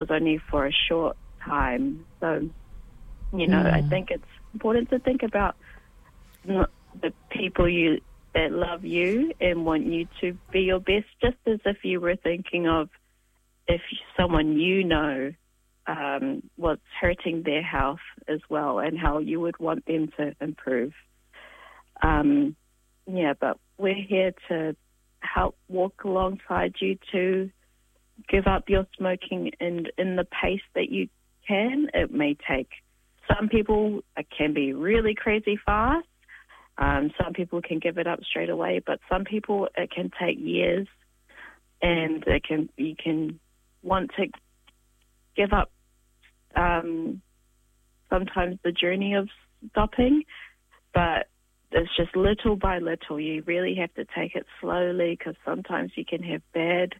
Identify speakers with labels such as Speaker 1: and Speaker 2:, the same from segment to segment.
Speaker 1: Was only for a short time. So, you know, I think it's important to think about the people you that love you and want you to be your best, just as if you were thinking of if someone you know was hurting their health as well and how you would want them to improve. Yeah, but we're here to help walk alongside you to give up your smoking and in the pace that you can. It may take some people it can be really crazy fast. Some people can give it up straight away, but some people it can take years, and it can you can want to give up sometimes the journey of stopping, but it's just little by little. You really have to take it slowly because sometimes you can have bad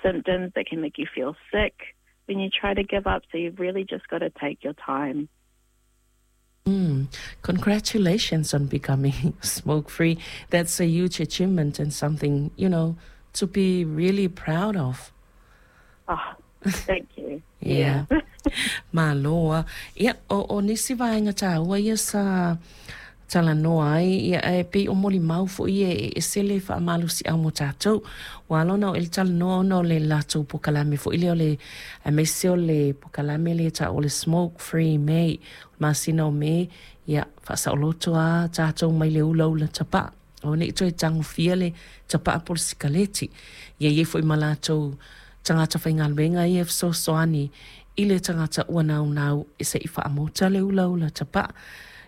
Speaker 1: symptoms that can make you feel sick when you try to give up. So you've really just got to take your time.
Speaker 2: Congratulations on becoming smoke free. That's a huge achievement and something to be really proud of.
Speaker 1: Oh, thank you.
Speaker 2: Yeah. Malo. Ia, o nisi vaega taua ia sa talanoa ai, ia, e pei o molimau foʻi e ese le faamalosiau mo tatou. Ua ala ona o e le talanoa ona o le latou pokalame foʻi lea o le aemaise o le pokalame lea taua o le Smoke Free May. O le masina o Me, ia, faasaoloto a tatou mai le ulaula tapaa. O nei toe tagofia le tapaa po o le sikaleti. Ia i ai foʻi ma latou tagata faigaluega ia e fesoasoani i le tagata ua naunau e se i faamota le ulaula tapaa.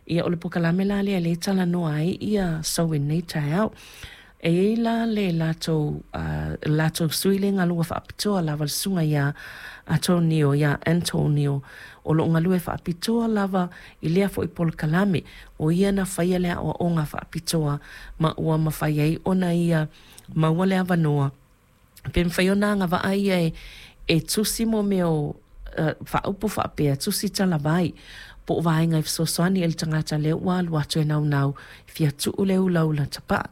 Speaker 2: Ia o le pokalame la lea lea e talanoa ai ia sau i lenei taeao. E i ai la le latou, latou sui le galua faapitoa lava le susuga iā Antonio, iā Antonio, o lo o galue faapitoa lava i lea foi polokalame. O ia na faia le aoaoga faapitoa ma ua mafai ai ona ia maua le avanoa pe mafai ona agavaa ia e tusi mo mea o faaupu faapea, tusi talavai, po o vaega e fesoasoani i le tagata lea ua alu atu e naunau e fia tuu le ulaula tapaa.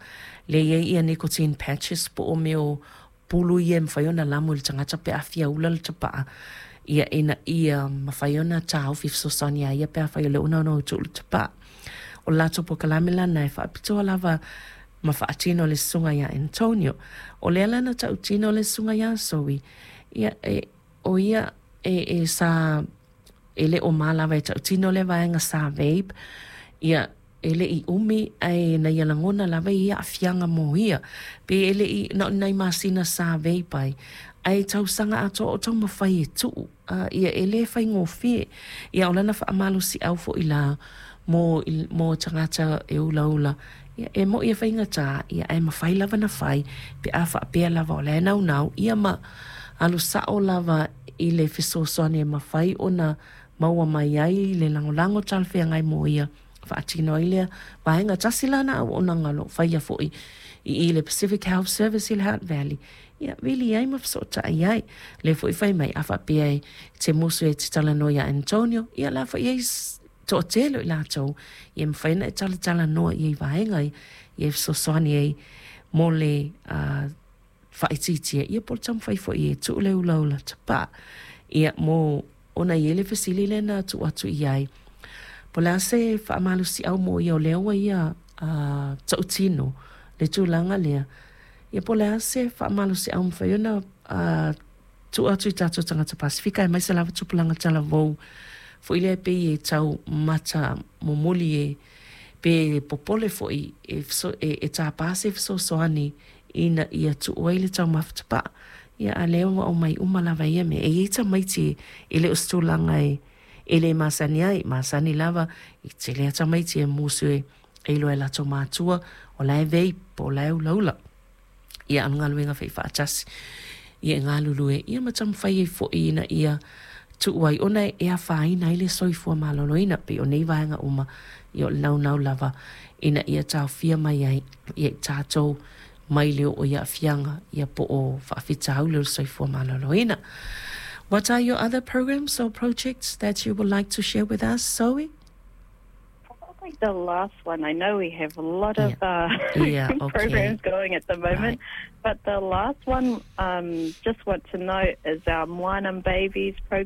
Speaker 2: Lea e i ai ia nicotine patches po o mea o pulu ia e mafai ona lamo i le tagata pe a fia ula le tapaa, ia ina ia mafai ona taofi fesoasoani iā ia pe afai o lea ua naunau e tuu le tapaa. O le latou pokalame lana e faapitoa lava ma faatino e le susuga iā Antonio. O lea la na tautino le susuga iā Zoe, ia e, o ia e, e sa e le o ma lava e tautino lea vaega sa vape, ia e le i umi ae na ia lagona lava i ia aafiaga mo ia. Pe e le i na o ni nai masina sa vape ai, ae tausaga atoa o taumafai e tuu, a ia e le faigofie. Ia o lana faamalosiau foʻi la mo mo tagata e ulaula, ia e moʻi e faigata, ia ae mafai lava ona fai pe a faapea lava o la e naunau, ia ma alu sao lava i le fesoasoani e mafai ona maua mai ai le lagolago talafeagai mo ia faatino ai lea vaega. Tasi la na auaunaga o lo o faia foʻi i i le Pacific Health Service i le Hutt Valley, ia vili ai ma fesootai ai. Lea foi fai mai a faapea e te musu e te talanoa iā Antonio, ia la foi ai toatele o i latou ia e mafai ona e talatalanoa i ai vaega ia e fesoasoani ai mo le faaitiitia ia po o le taumafai foi e tuu le ulaula tapaa. Ia mo ona i ai le fesili lea na tuu atu i ai, po o le a se faamalosiau mo ia o lea ua ia tautino le tulaga lea, ia po o le a se faamalosiau e mafai ona tuu atu i tatou tagata Pasefika aemaise lava tupulaga talavou foi lea e pei e tau mata momoli e pe popole foi e, e, e tāpā se fesoasoani ina ia tuu ai le taumafa tapaa. Ia a lea ua aumai uma lava ia mea. E i ai tamaiti e le o se tulaga e e le masani ai, masani lava i tele a tamaiti e musu e e iloa e latou matua o la e vape po o la e ulaula. Ia a o le galuega faifaatasi ia e galulue ia ma taumafai ai foʻi ina ia tuu ai ona e afaina ai le soifua maloloina pei o nei vaega uma ia o le naunau lava ina ia taofia mai ai ia i tatou mai le oo i aafiaga ia po o faafitauli o le soifua maloloina. What are your other programs or projects that you would like to share with us, Zoe?
Speaker 1: Probably the last one. I know we have a lot of programs going at the moment, but the last one, just want to note, is our Moana Babies program.